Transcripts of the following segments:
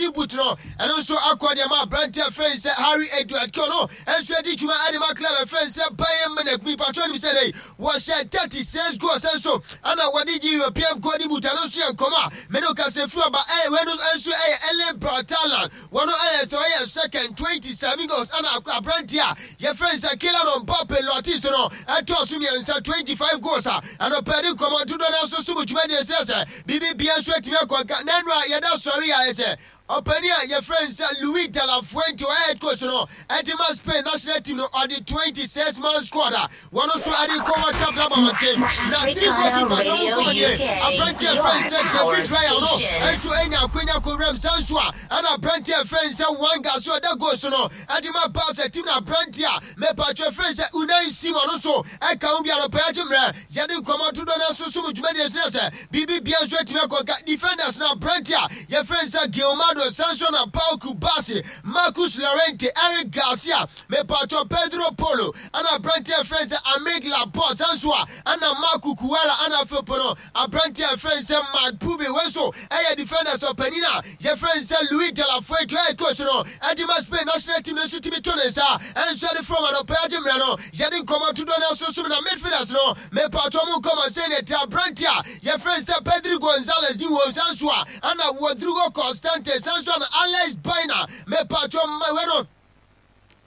Golden Boot no, ɛno nso akɔ de ama aberanteɛ a yɛfrɛ no sɛ Harry Edward Kane. Ɔno nso adi dwuma de ma club a yɛfrɛ no sɛ Bayern Munich. Mepatwɔ nim sɛ dɛn, wɔhyɛ 36 goals nso ɛna wɔde gye European Golden Boot. Ɛno nso yɛ nkɔmmɔ a me ne wo kasa firi ɔba. Wei no nso yɛ Erling Braut Haaland. Wɔn ayɛ sɛ ɔyɛ second, 27 goals, ɛna aberanteɛ a yɛfrɛ no sɛ Kylian Mbappe Lottis no ɛtɔɔ so mmiɛnsa, 25 goals a anɔpa yɛde nkɔmmɔ dodoɔ no ara nso som dwumadie srɛ sɛ biribi biara nso atumi akɔ nka. Na nnora yɛda sɔre a ayɛ sɛ ɔpanin a yɛfrɛ no sɛ Luis de la Fuente ɔyɛ head coach no ɛde ma Spain national team no ɔde 26 man squad a wɔn nso ɛde kɔ World Cup no aba abɔnten. Na three goalkeepers a wɔn nkɔmmɔ nie, aberanteɛ a yɛfrɛ no sɛ David Raya no nso anya akwanya kɔ wuram saa nso a Ɛna aberanteɛ a yɛfrɛ no sɛ Wanga nso ɔda goal so no de ma Barca team no. Aberanteɛ a mepatwo yɛfrɛ no sɛ Unai Simon nso ɛka ho bi. Anɔpa yi agye mmerɛ yɛde nkɔmmɔ dodoɔ no ara som dwumadie so na sɛ biribi biara nso atumi akɔ nka. Defenders no aberanteɛ a yɛfrɛ no sɛ Gilmado Sanso na Pau Cubarsi, Marcus Llorente, Eric Garcia, mepatwo Pedro Polo ɛna aberanteɛ a yɛfrɛ no sɛ Aymeric Laporte sanso a ɛna Marc Cucurella ɛna afei po no Aberanteɛ a yɛfrɛ no sɛ Marc Pubill, wei nso yɛ defenders ɔpanin a yɛfrɛ no sɛ Luis de la Fuente ɔyɛ coach no de ma Spain national team no nso tumi to ne nsa nso de frɛ wɔn anɔpa yi agye mmerɛ no yɛde nkɔmmɔ dodoɔ no ara som na midfielders no mepaatwɔ mo nkɔmmɔ sɛdeɛ ɛte. Aberanteɛ a yɛfrɛ no sɛ Pedri Gonzalez din wɔ mu saa nso a ɛna Rodrigo Constante saa nso a na Alex Baena mepaatwɔ wei no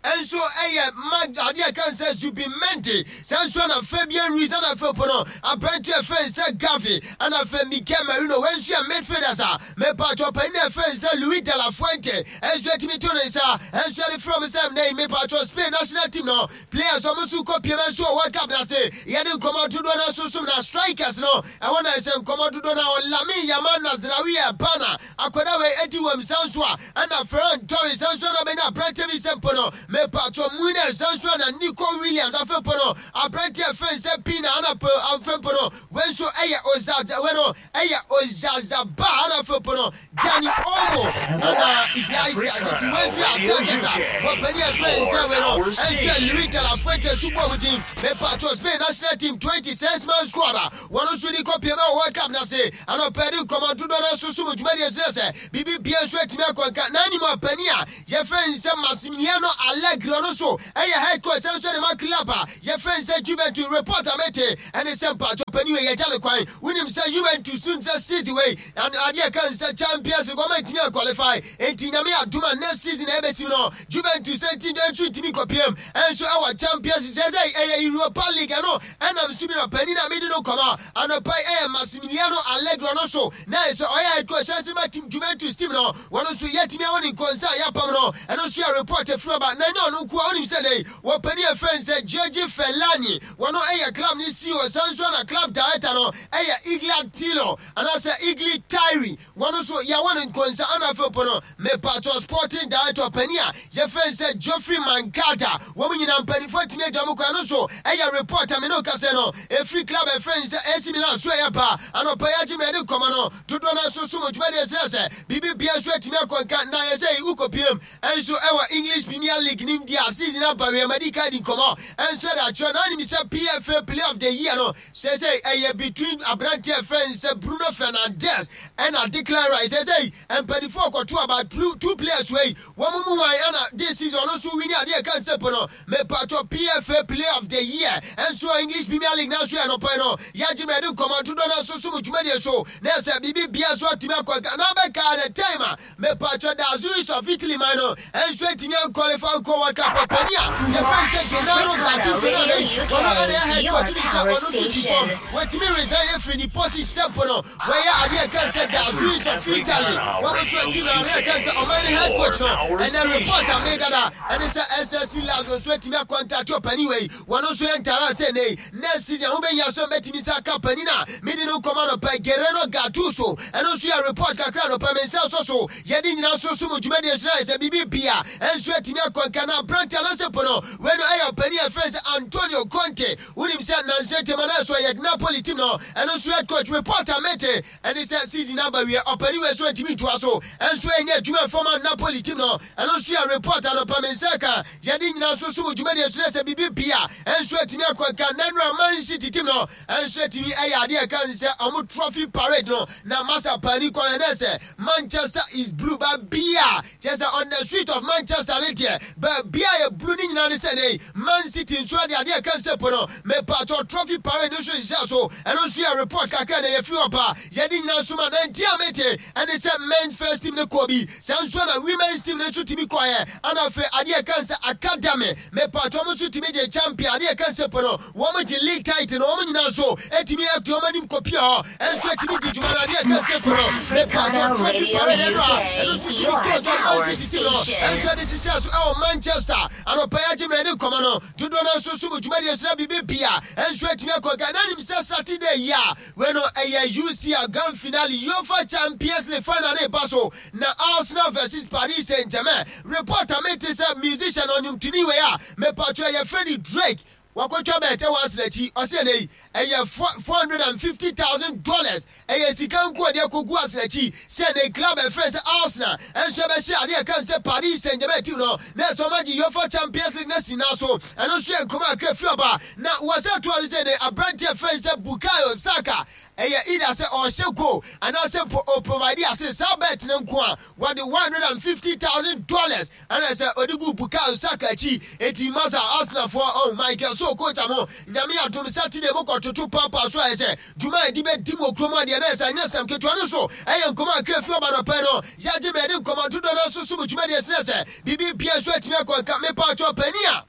nso yɛ ma adeɛ a ɛka sɛ Zubimendi, saa nso na Fabian Ruiz, ɛna afei po no aberanteɛ a ɛfrɛ no sɛ Gavi, ɛna afei Mikel Merino. Wei nso yɛ midfielders a mepatwɔ panin a ɛfrɛ no sɛ Luis de la Fuente nso atumi to ne nsa nso de frɛ wɔn sɛ nnɛ yi mepatwɔ Spain national team no players wɔn nso kɔ piem nso wɔ World Cup no ase. Yɛde nkɔmmɔ dodoɔ no nso som na strikers no ɛwɔ na ɛsɛ nkɔmmɔ dodoɔ no a Lamine Yamal, Nasraoui Bana Akwadaa wei adi wɔ nsa nso a ɛna Ferran Torres nsa nso a na ɔbɛnya aberanteɛ bi sɛ mpo no mepatwɔ Munar nsa nso a na Nico Williams afei mpo no aberanteɛ fɛn sɛ Pina ana po afei mpo no wei nso ɛyɛ Ozad wei no ɛyɛ Oyarzabal ana afei mpo no Dani Olmo ana Iglesias nti wei nso yɛ attackers a wɔpani ɛfɛn sɛ wei no ɛnso yɛ Luis de la Fuente so bɔ mu din mepatwɔ Spain national team 26 man squad a Wɔn nso de kɔpiem wɔ World Cup no ase. Anɔpa yi nkɔmmɔ dodoɔ no ara nso som dwumadie kyerɛ sɛ biribi biara nso atumi akɔ nka. Na anim ɔpanin a yɛfrɛ no sɛ Massimiliano Allegri, ɔno nso yɛ head coach sane nso de ma club a yɛfrɛ no sɛ Juventus. Report a mete ɛne sɛ mpakyɛ ɔpanin wei yɛgya no kwan. Wonim sɛ Juventus nim sɛ season wei adeɛ ɛka no sɛ Champions League wɔn antumi anqualify. Enti Nyame adom a next season a ɛbɛsim no Juventus nso ntumi nkɔpiem nso wɔ Champions League. Seesei ɛyɛ Europa League ɛno Ɛnam so bi na ɔpanyin a mede no kɔma anɔpa yi yɛ Massimiliano Allegri, ɔno nso na ayɛ sɛ ɔyɛ head coach san ma team Juventus team no, wɔn nso yɛatumi ahu ne nkɔnsa a yɛapam no, ɛno nso yɛ report afiri aba, na ɛnyɛ ɔno nko ara, wonim sɛ nnɛ yi wɔpanin a yɛfrɛ no sɛ Giorgi Fellani, wɔno yɛ club no CEO san nso na club director no yɛ Igli Tilo anaasɛ Igli Tire. Wɔn nso yɛawɔ no nkonsa ana afei mpo no mepakyɛw sporting director panin a yɛfrɛ no sɛ Geoffrey Mankata. Wɔn nyinaa mpaninfoɔ atumi agya wɔn kwan. Ɛno nso ɛyɛ report a me ne wo kasa yi no ɛfiri club a yɛfrɛ no sɛ AC Milan so ɛyɛ ba anɔpa yi agye mmerɛ de nkɔmmɔ no dodoɔ no ara nso som dwumadie srɛ sɛ biribi biara nso atumi akɔ nka na ayɛ sɛ wokɔpiem nso ɛwɔ English Premier League no mu deɛ a season aba wie madi kan adi nkɔmmɔ nso de akyerɛ na wonim sɛ PFA Player of the Year no Seesei ɛyɛ between aberanteɛ a yɛfrɛ no sɛ Bruno Fernandes ɛna Declan Rice. Seesei mpaninfoɔ rekɔto aba two players wei wɔn mu hwan ɛna this season ɔno nso wini adeɛ ɛka nsɛ po no. Mepatwɔ PFA Player of the Year nso wɔ English Premier League no so ɛnɔpa yi no yɛagye mmerɛ de nkɔmmɔ dodoɔ no nso som dwumadie so na ɛsɛ biribi bia nso atumi akɔ nka na bɛka the time a Mepaatwɔ da Azuris of Italy man no nso antumi anqualify ankɔ World Cup. Ɔpanin a yɛfrɛ no sɛ Gennaro Gattuso no nnɛ yi ɔno na ɛyɛ head coach wonim sɛ ɔno nso si fam watumi resign afiri ne position sɛ mpo no wayɛ adeɛ a ɛka sɛ da Azuris of Italy wɔn nso ati no adeɛ a ɛka sɛ ɔman no head coach no ɛnɛ report a meda da ɛne sɛ SSC Lazio nso atumi akɔntate ɔpanin wei wɔn nso yɛ ntara sɛ nnɛ yi Next season ho bɛhia sɛ mɛtumi nsa aka panin a mede no nkɔm anɔpa yi, Guerrero Gattuso. Ɛno nso yɛ report kakra anɔpa yi, me nsa sɔ so. Yɛde nyina nso som dwumadie. dwumadie so na ayɛ sɛ biribi bia nso atumi akɔ nka na aberante anaasɛ po no wei no ɛyɛ ɔpanin a yɛfrɛ sɛ Antonio Conte. Wonim sɛ nnansa ntam anaasɛ ɔyɛ Napoli team no ɛno nso head coach. Report a mete ɛne sɛ season aba wie ɔpanin wei nso ntumi ntoa so nso ɛnyɛ adwuma mfa ma Napoli team no. Ɛno nso yɛ report anɔpa me nsa ka yɛde nyina nso som dwumadie so na sɛ biribi bia nso atumi akɔ nka na nnora Man City team no nso atumi ɛyɛ adeɛ ɛka sɛ ɔmo trophy parade no na masa paani kwan ɛnɛ sɛ Manchester is blue ba bia kyerɛ sɛ on the street of Manchester ne deɛ baabia yɛ blue ne nyinaa ne sɛ nei Man City nso ɛde adeɛ ɛka sɛ po no mepatɔ trophy parade no nso hyehyɛ so. Ɛno nso yɛ report kakra na yɛfiri hɔ ba yɛde nyinaa nso ma na nti a mete ɛne sɛ men's first team no kɔɔ bi saa nso na women's team no nso tumi kɔɛ ana afei adeɛ ɛka sɛ academy mepatɔ mo nso tumi gye champion adeɛ ɛka sɛ po no wɔn gye league title no wɔn nyinaa nso ɛtumi ɛto wɔn anim kɔpia hɔ ɛnso ɛtumi di dwuma no adeɛ ɛka sɛ po no mepatɔ trophy parade ɛno a ɛno nso tumi tɔ dwa Man City team no ɛnso ɛde hyehyɛ so ɛwɔ Manchester anɔpa yi agye mmerɛ de nkɔmɔ no dodoɔ no nso so mu dwumadie so na biribi bia ɛnso atumi akɔ nka na nim sɛ Saturday yi a wei no ɛyɛ UCL Grand Finale UEFA Champions League final ne ba so na Arsenal versus Paris Saint-Germain. Report a mete sɛ musician ɔnwomtoni wei a mepatwɛ yɛfrɛ no Drake wakɔtwa bɛɛtɛ wɔ Arsenal akyi ɔsɛ ɛnɛ yi ɛyɛ $450,000 ɛyɛ sika nko ɔde akɔgu Arsenal akyi sɛ ne club ɛfrɛ sɛ Arsenal ɛnso ɛbɛhyɛ adeɛ ɛka sɛ Paris Saint-Germain team no na ɛsɛ ɔma gye UEFA Champions League na si na so. Ɛno nso yɛ nkɔmɔ akra firi ɔba na wɔsɛ to ase sɛ ne aberanteɛ frɛ sɛ Bukayo Saka ɛyɛ either sɛ ɔhyɛ goal anaasɛ mpo ɔprovide ase saa bet no nko a wɔde $150,000 ɛna sɛ ɔde gu Bukayo Saka akyi. Eti masa Arsenalfoɔ oh Michael so coach amo Nyame adom Saturday mo kɔtoto paapa so ayɛ sɛ dwuma a yɛde bɛdi mu wɔ kurom adeɛ na ɛsɛ anyɛ sɛm ketewa no so ɛyɛ nkɔmɔ akra firi ɔba nɔpɛ no yɛagye mmerɛ de nkɔmɔ dodoɔ no nso so mu dwumadie srɛ sɛ biribi bia nso atumi akɔ nka mepa atwɔ pani a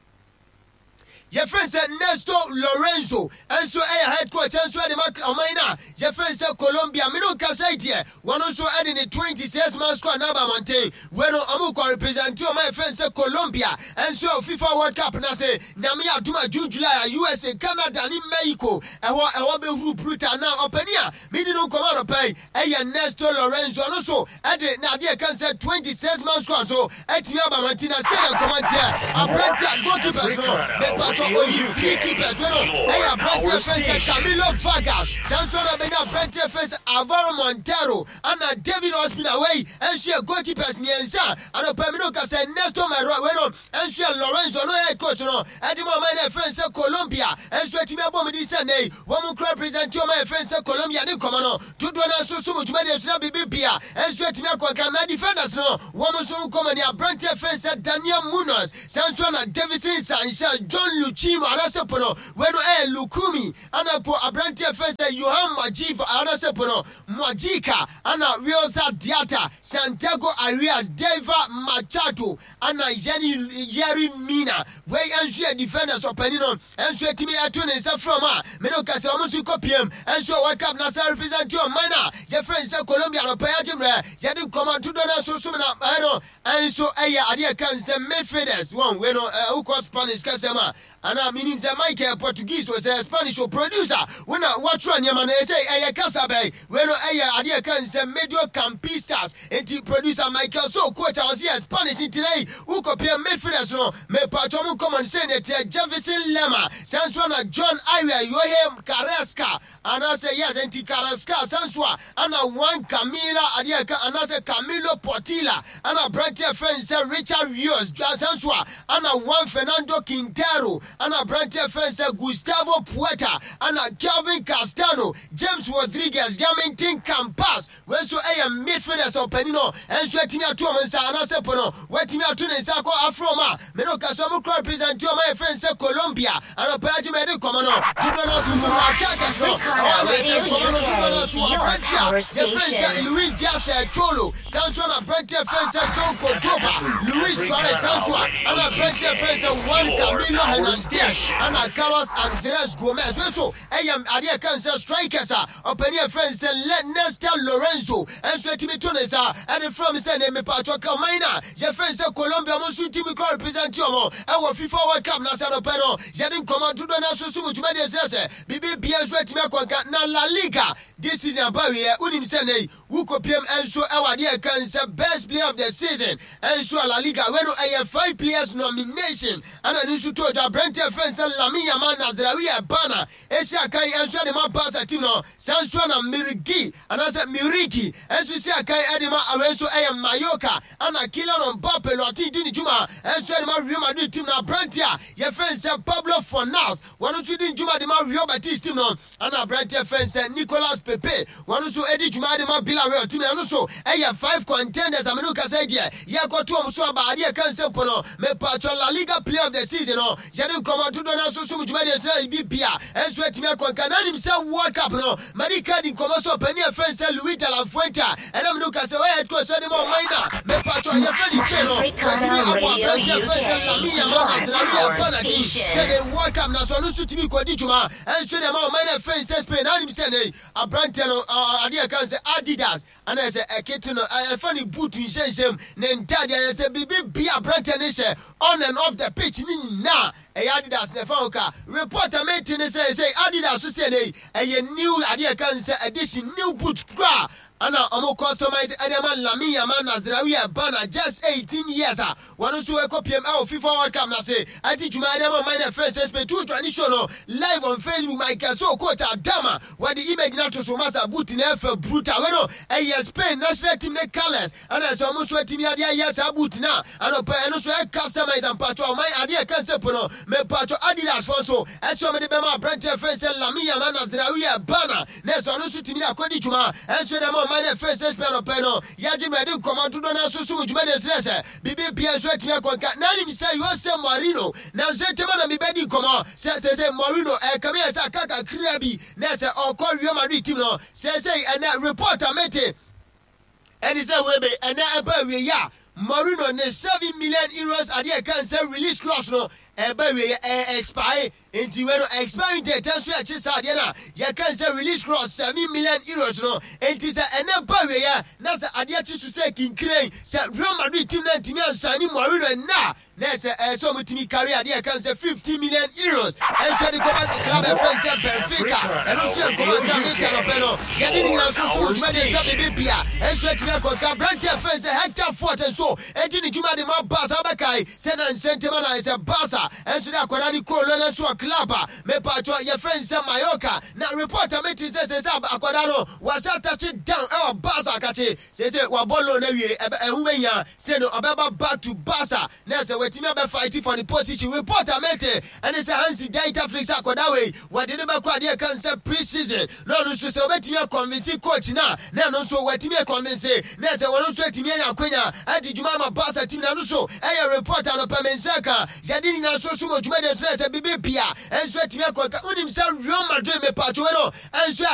yɛfrɛ sɛ Nestor Lorenzo nso ɛyɛ head coach nso ɛde ma ɔman no a yɛfrɛ sɛ Colombia. Mene nkasa yi deɛ wɔno nso ɛde ne 26 man squad na aba abɔnten. Wei no ɔmo kɔ represent ɔman yɛfrɛ sɛ Colombia nso ɛwɔ FIFA World Cup no ase. Nyame adom a June, July a USA, Canada ne Mexico ɛhɔ bɛhuru brutal. Na ɔpani a medi no nkɔmmɔ anɔpa yi ɛyɛ Nestor Lorenzo. Ɔno so ɛde na adeɛ ɛka sɛ 26 man squad so ɛtumi aba abɔnten. Na sɛdeɛ nkɔmmɔ nteɛ aberante a goalkeepers no mepatɔ oyi three keepers wei no ɛyɛ aberanteɛ fɛn sɛ Camilo Vargas, saa nso na bɛnya aberanteɛ fɛn sɛ Alvaro Montero ana David Ospina. Wei nso yɛ goalkeepers mmiɛnsa. Anɔpa mi no ka sɛ Nestor Mero wei no nso yɛ Lorenzo no head coach no ɛde ma ɔman no ɛfɛn sɛ Colombia nso atumi abɔ mu din sɛ nnɛ yi wɔn mu kura represent ɔman ɛfɛn sɛ Colombia de nkɔmɔ no dodoɔ no nso so mu dwumadie so na biribi bia nso atumi akɔ nka. Na defenders no wɔn nso nkɔmɔ ni aberanteɛ fɛn sɛ Daniel Munoz, saa nso na Davison Sanchez, John Luchimo anaasɛ po no wei no ɛyɛ Lukumi ana po aberanteɛ fɛn sɛ Johan Majiva anaasɛ po no Mwajika ana Wiltha Diata, Santiago Arias, Deva Machado ana Yeri Yeri Mina. Wei nso yɛ defenders. Ɔpani no nso atumi ɛto ne nsa frɛ ɔmo a mene ka sɛ ɔmo nso kɔ pm nso World Cup na sɛ represent ɔman a yɛfrɛ n sɛ Colombia no pɛyɛ agye mmerɛ yɛde nkɔmmɔ dodoɔ no nso som na ɛno nso ɛyɛ adeɛ ka sɛ midfielders wɔn wei no wokɔ Spanish kasɛm a ana menim sɛ Michael Portuguese o sɛ Spanish o producer wo na wɔatwerɛ nneɛma no ɛsɛ ɛyɛ kasa bɛn. Wei no ɛyɛ adeɛ ka sɛ mediocampistas. Enti producer Michael so coach a ɔse yɛ Spanish nti na yi wokɔpia midfielders no mepatwɔ mu nkɔmmɔ no sɛ ne teɛ Jefferson Lema, saa nso na John Ariel Yohe Carrasca anaasɛ yes enti Carrasca, saa nso a ana Juan Camila adeɛ ka anaasɛ Camilo Portilla ana aberanteɛ fɛn sɛ Richard Rios, saa nso a ana Juan Fernando Quintero ana aberanteɛ fɛn sɛ Gustavo Puerta ana Kelvin Castano, James Rodriguez, Jaminton Campas. Wei nso ɛyɛ midfielders a ɔpanin no nso atumi ato wɔn nsa anaasɛ po no watumi ato ne nsa akɔ afro wɔn a mene ɔka sɛ ɔmo kura represent wɔn a yɛfrɛ sɛ Colombia anɔpa agye mɛ de nkɔmɔ no dodoɔ no nso so na attackers no ɛhɔ na ɛsɛ nkɔmɔ no dodoɔ no nso aberante a yɛfrɛ sɛ Luis Diaz Cholo, saa nso na aberante a yɛfrɛ sɛ John Cordoba, Luis Suarez, saa nso a ɛna aberante a yɛfrɛ sɛ Juan Camilo Hernandez ɛna Carlos Andres Gomez. Wei nso ɛyɛ adeɛ ɛka sɛ strikers a ɔpanin a yɛfrɛ sɛ Nestor Lorenzo nso atumi to ne nsa ɛde frɛ m sɛ ne mepatwɔ ka ɔman no a yɛfrɛ no sɛ Colombia ɔmo nso ntumi kɔ represent ɔmo ɛwɔ FIFA World Cup no ase. Anɔpɛ no yɛde nkɔmmɔ dodoɔ no aso so mu dwumadie srɛ sɛ biribi bia nso atumi akɔnka na La Liga this season aba wieɛ. Wonim sɛ nnɛ yi wokɔpiem nso ɛwɔ adeɛ ɛka sɛ best player of the season nso a La Liga wei no ɛyɛ five players nomination ɛna ne nso to dwa. Aberanteɛ fɛn sɛ Lamine Yamal Nasraoui Ebana ɛsi akan nso ɛde ma Barca team no. Saa nso na Mirigi anaasɛ Muriki nso si akan ɛde ma awei nso ɛyɛ Mallorca, ɛna Kylian Mbappe Lottin di ne dwuma nso ɛde ma Real Madrid team no. Aberanteɛ a yɛfrɛ sɛ Pablo Fornals, wɔn nso di dwuma de ma Real Betis team no, ɛna aberanteɛ fɛn sɛ Nicolas Pepe, wɔn nso di dwuma de ma Villarreal team no. Ɛno nso ɛyɛ five contenders amenu kasa deɛ yɛkɔto wɔn so aba. Adeɛ ka nsɛm po no, mepatwɔ La Liga player of the season no, yɛde nkɔmɔ dodoɔ no nso som dwumadie sɛ bi bia ɛnso atumi akɔnka na anim sɛ World Cup no madi ka di nkɔmɔ so. Ɔpanin a fɛn sɛ Luis de la Fuente a ɛnam no kasa wɔyɛ head coach sɛ de ma ɔman na mepatwɔ yɛfrɛ ne Spain no, watumi abɔ aberanteɛ fɛn sɛ Lamine Yamal Nasraoui Ebana din sɛ de World Cup na so ɔno nso tumi kɔdi dwuma ɛnso de ma ɔman na fɛn sɛ Spain. Na anim sɛ ne aberanteɛ no adeɛ ka sɛ Adidas ana sɛ ɛkete no ɛfa ne boot nhyɛnhyɛm ne ntadeɛ ayɛ sɛ biribi bia aberanteɛ ne hyɛ on and off the pitch ne nyinaa ɛyɛ Adidas na ɛfa ho ka. Report a mete ne sɛ Adidas so sɛ ne ɛyɛ new adeɛ ka sɛ edition new boot kura ana ɔmo customize ɛde ama Lamine Yamal Nasraoui Ebana, just 18 years a wɔn nso ɛkɔ piem ɛwɔ FIFA World Cup n'ase ɛdi dwuma ɛde ama ɔman na ɛfrɛ sɛ Spain. Tu join show no live on Facebook. Michael So coach Adama wɔde image na to so masa boot na ɛfɛ brutal. Wei no ɛyɛ Spain national team ne colours ɛna ɛsɛ ɔmo nso atumi adeɛ ayɛ saa boot na anɔpɛ ɛno nso ɛ customize ampatwɔ ɔman adeɛ ɛka nsɛ po no. Mepatwɔ Adidas fɔ nso ɛsɛ ɔmo de bɛma aberanteɛ fɛn sɛ Lamine Yamal Nasraoui Ebana na ɛsɛ ɔno nso tumi de akɔdi dwuma ɛnso de ma ɔman na ɛfɛn sɛ Spain. Anɔpɛ no yɛagye no ɛde nkɔmɔ dodoɔ no aso so mu dwuma de srɛ sɛ biribi bia nso atumi akɔnka na anim sɛ Jose Mourinho na nso ntɛm na mebɛdi nkɔmɔ sɛ Mourinho ɛkame yɛ sɛ aka kakra bi na sɛ ɔkɔ Real Madrid team no. Sɛ ɛnɛ report a mete ɛne sɛ webe ɛnɛ ɛba awie yi a Mourinho ne €7 million adeɛ ɛka sɛ release clause no ɛba awie yɛ ɛyɛ expire, nti wei no expiring date nso yɛkye saa adeɛ no a yɛka sɛ release clause €7 million no. Nti sɛ ɛnɛ ba awie yɛ na sɛ adeɛ kye so sɛ kinkiren sɛ Real Madrid team no ntumi ansign Mourinho ɛnɛ a, na ɛsɛ ɔmo tumi carry adeɛ ɛka sɛ €50 million ɛnso de kɔba club ɛfɛn sɛ Benfica. Ɛno nso yɛ nkɔmɔ akra metia nɔpɛ no yɛde ne nyinaa nso so dwumadie sɛ biribi bia ɛnso atumi akɔka. Aberanteɛ ɛfɛn sɛ Hector Fort nso ɛdi ne dwuma de ma Barca. Wobɛkae sɛ na nsɛntɛm na sɛ Barca ɛnso de akwadaa ne kɔɔ lɔlɛ so wɔ club a mepatwɔ yɛfrɛ sɛ Mallorca, na report a meti sɛ akwadaa no wasa touch down ɛwɔ Barca akakye sɛ wabɔ loan awie, ɛho bɛhia sɛ no ɔbɛba back to Barca na sɛ watumi abɛfight for the position. Report a mete ɛne sɛ Hansi Dieter Flick sɛ akwadaa wei wɔde no bɛkɔ adeɛ ka sɛ pre-season na ɔno nso sɛ wɔbɛtumi aconvince coach na ɛno nso watumi aconvince na sɛ wɔno nso atumi anya akwanya adi dwuma ama Barca team. Na no so ɛyɛ report a nɔpɛ me nsa ka. Yɛde ne nyinaa so so wɔ dwumadie kyerɛ sɛ biribi bia ɛnso atumi akɔka. Wonim sɛ Real Madrid mepatwo wei no ɛnso